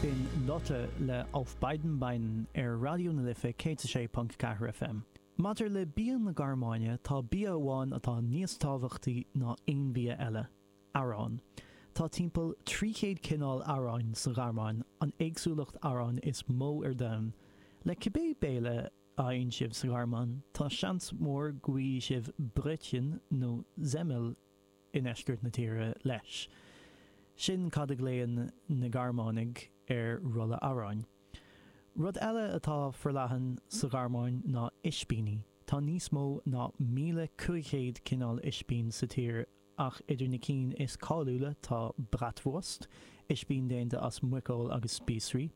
B'in Lotte le Auf beiden Beinen ar Raidió na Life 106.4 FM. Maidir le bia na Gearmáine, tá bia amháin atá níos tábhachtaí ná aon bhia eile, arán. Tá timpeall 300 cineál aráin sa Ghearmáin, an éagsúlacht aráin is mó ar domhan. Le cibé béile a fhaigheann sibh sa Ghearmáin, tá seans mór go bhfaighidh sibh Brötchen nó Semmel i ndeisceart na tíre leis. Sin cad a ghlaonn na Gearmánaigh ar rolla aráin. Rud eile atá forleathan sa Ghearmáin ná ispíní. Tá níos mó ná 1,500 cineál ispín sa tír ach idir na cinn is cáiliúla tá Bratwurst, ispín déanta as muiceoil agus spíosraí,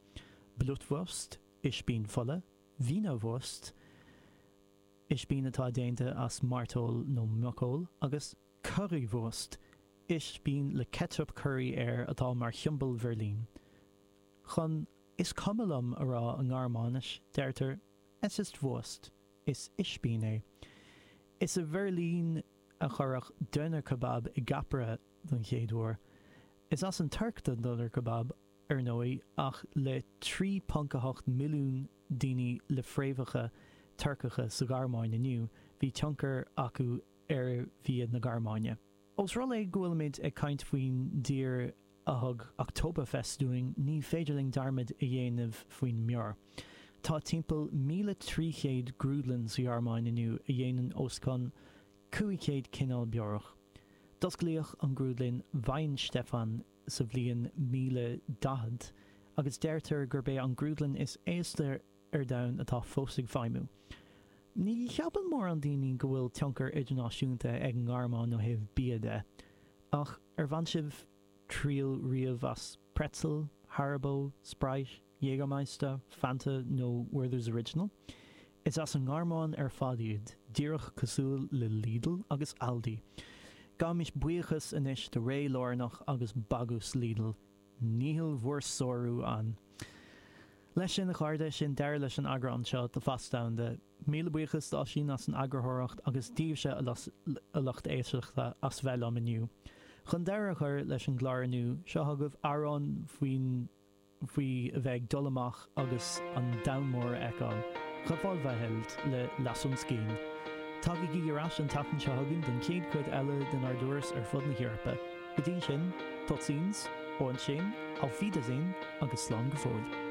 Blutwurst, ispín fola, Wienerwurst, ispín atá déanta as mairteoil nó muiceoil, agus Currywurst, ispín le ceitseap curaí air atá mar shiombail Bheirlín. Chun 'is cuma liom' a rá i nGearmáinis, deirtear Es ist Wurst, is ispín é. Is i mBeirlín a cuireadh Döner Kebab i gceapaire don chéad uair. Is as an Tuirc don Döner Kebab, ar ndóigh, ach le 3.8 milliún daoine le fréamhacha Turcacha sa Ghearmáin inniu, bhí tionchar acu ar bhia na Gearmáine. Ós rud é go bhfuilimid ag caint faoin dtír a thug Oktoberfest dúinn, ní féidir linn dearmad a dhéanamh faoin mbeoir. Tá timpeall 1,300 grúdlann sa Ghearmáin inniu a dhéanann os cionn 500 cineál beorach. D'osclaíodh an grúdlann Weihenstephan sa bhliain 1040 agus deirtear gurb é an grúdlann is aosta ar domhan atá fós ag feidhmiú. Ní cheapann mórán daoine go bhfuil tionchar idirnáisiúnta ag an nGearmáin ó thaobh bia de, ach ar bhain sibh triail riamh as Pretzel, Haribo, Sprite, Jägermeister, Fanta nó Werther's Original? Is as an nGearmáin ar fad iad, díreach cosúil le Lidl agus Aldi. Gabhaimis buíochas anois do ré lárnach agus bagús Lidl. Níl bhur sárú ann. Leis sin, a chairde, sin deireadh leis an eagrán seo de Phas Domhanda. Míle buíochas d'Oisín as an eagarthóireacht agus daoibhse, a lucht éisteachta, as bheith liom inniu. Chun deireadh a chur leis an gclár inniu, seo chugaibh amhrán faoin faoi a bheith ag dul amach agus an domhan mór a fheiceáil. Revolverheld le Lass uns gehen. Tagaigí ar ais an tseachtain seo chugainn don chéad chuid eile denár dturas ar fud na hEorpa. Go dtí sin, tot ziens, und schön, auf Wiedersehen agus slán go fóill.